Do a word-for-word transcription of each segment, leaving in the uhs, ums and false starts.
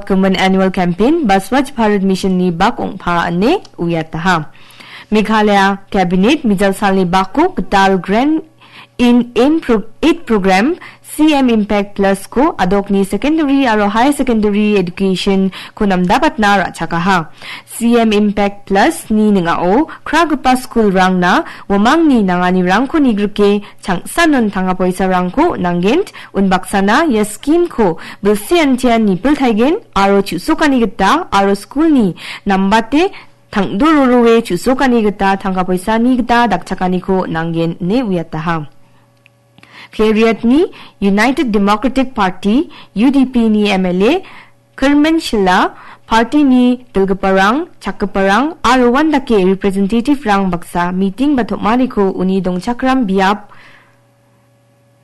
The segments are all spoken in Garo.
Gimin annual campaign ba Swachh Bharat Mission-ni bak ong·pa ine uiataha. Meghalaya Cabinet mijalsalni bako gital Grand in Aim Pro-, Aid Program C M Impact Plus-ko adokni secondary aro higher secondary education-ko namdabatna ra·chakaha. C M Impact Plus-ni ning·ao kragipa skulrangna uamangni nanganirangko nigrike changsanon tangka poisarangko nanggen, unbaksana ia scheme-ko bilsi antian nipiltaigen aro chu·sokani gita aro skulni nambate tangdororoe chu·sokani gita tangka poisani gita dakchakaniko nanggen ine uiataha. Khariatni United Democratic Party, U D P-ni M L A Kirmen Shila, party-ni dilgiparang, chakgiparang aro uandake representative-rang baksa meeting ba tom·aniko uni dongchakram biap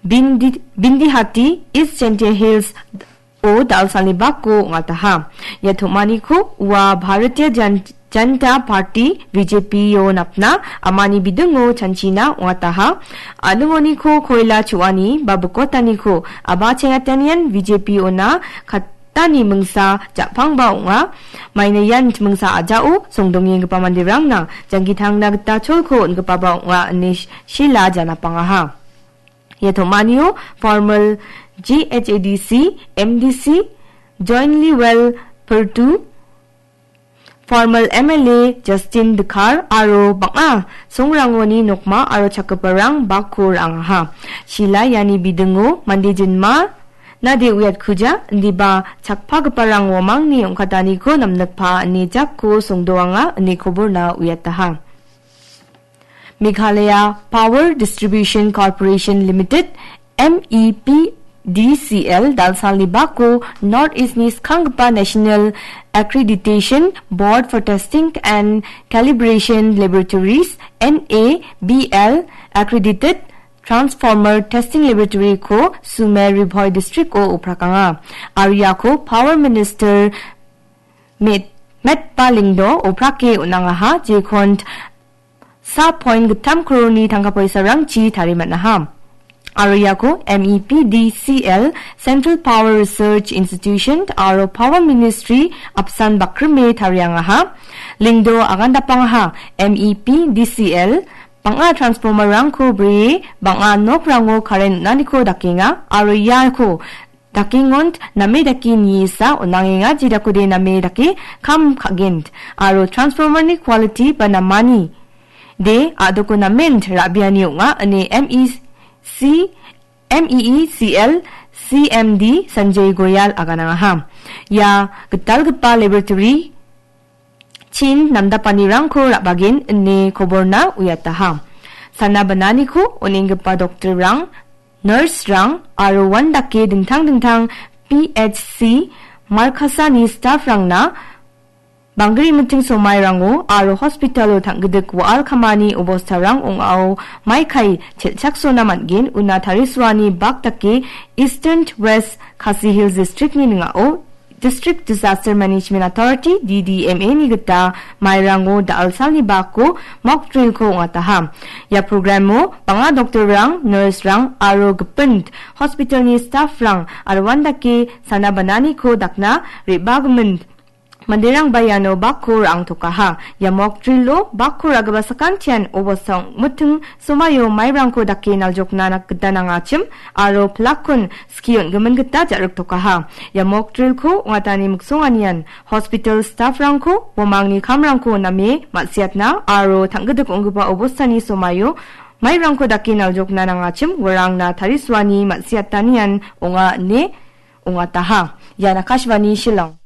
Bindi-, Bindihati, East Jaintia Hills-o dal·salni bako ong·ataha. Ia tom·aniko ua Bharatiya Jan-, Janata Party, B J P-o napna amani bidingo chanchina ong·ataha. Adingoniko koila chu·ani ba bikotaniko abachengatanian B J P-ona katani mingsa ja·pangba ong·a. Maina ian mingsa ajao songdongenggipa manderangna janggi tangna gita cholko on·gipaba ong·a ine sh-, Shila janapangaha. Ia tom·anio formal G H A D C, M D C, Joinly Well Purtu, formal M L A Justin Dkhar aro bang·a songrangoni nokma aro chakgiparang bakko ra·angaha. Shila iani bidingo mande jinma nade uiatkuja, indiba chakpagiparang uamangni ong·kataniko namnikpa ine jakko songdoanga ine koborna uiataha. Meghalaya Power Distribution Corporation Limited, M E P D C L, dal·salni bako North East-ni skanggipa National Accreditation Board for Testing and Calibration Laboratories, N A B L, accredited transformer testing laboratory-ko Sumer Ri Bhoi District-o oprakanga. Aro iako Power Minister Met-, Metba Lyngdoh oprake on·angaha, jekon sa point gittam krorni tangka poisarangchi tarimatnaha. Aro iako M E P D C L, Central Power Research Institution aro Power Ministry apsan bakrime tariangaha. Lyngdoh agandapangaha, M E P D C L bang·a transformer-rangko bree bang·a nokrango current on·aniko dakenga aro iako dakengont name dake niesa on·angenga, jedakode name dake kam ka·gent. Aro transformer-ni quality ba namani de a·doko namen ra·biani ong·a ine M E C, M E E C L C M D Sanjay Goyal aganangaha. Ia gitalgipa laboratory chin namdapanirangko ra·bagen ine koborna uiataha. Sana bananiko on·enggipa doktorrang, nurse-rang aro uandake dingtang dingtang P H C markasani staff-rangna banggri miting somairango aro hospital-o tanggidik wa·al kamani obostarang ong·ao maikai chelchaksona man·gen, una tarisuani bak dake Eastern West Khasi Hills District-ni ning·ao District Disaster Management Authority, D D M A-ni gita mairango da·alsalni bako mock drill-ko ong·ataha. Ia program-o bang·a doktorrang, nurse-rang aro gipin hospital-ni staff-rang aro uandake sana bananiko dakna re·bagimin manderangba iano bakko ra·angtokaha. Ia mock drill-o bakko ra·gipa sakantian obosta ong·miting somaio mairangko dake naljokna gita nangachim aro pilakkon skie on·gimin gita ja·riktokaha. Ia mock drill-ko ong·atani miksonganian hospital staff-rangko uamangni kamrangko name ma·siatna aro tanggidik ong·gipa obostani somaio mairangko dake naljokna nangachim uarangna tarisuani ma·siatanian ong·a ine ong·ataha. Ian Akashvani Shillong.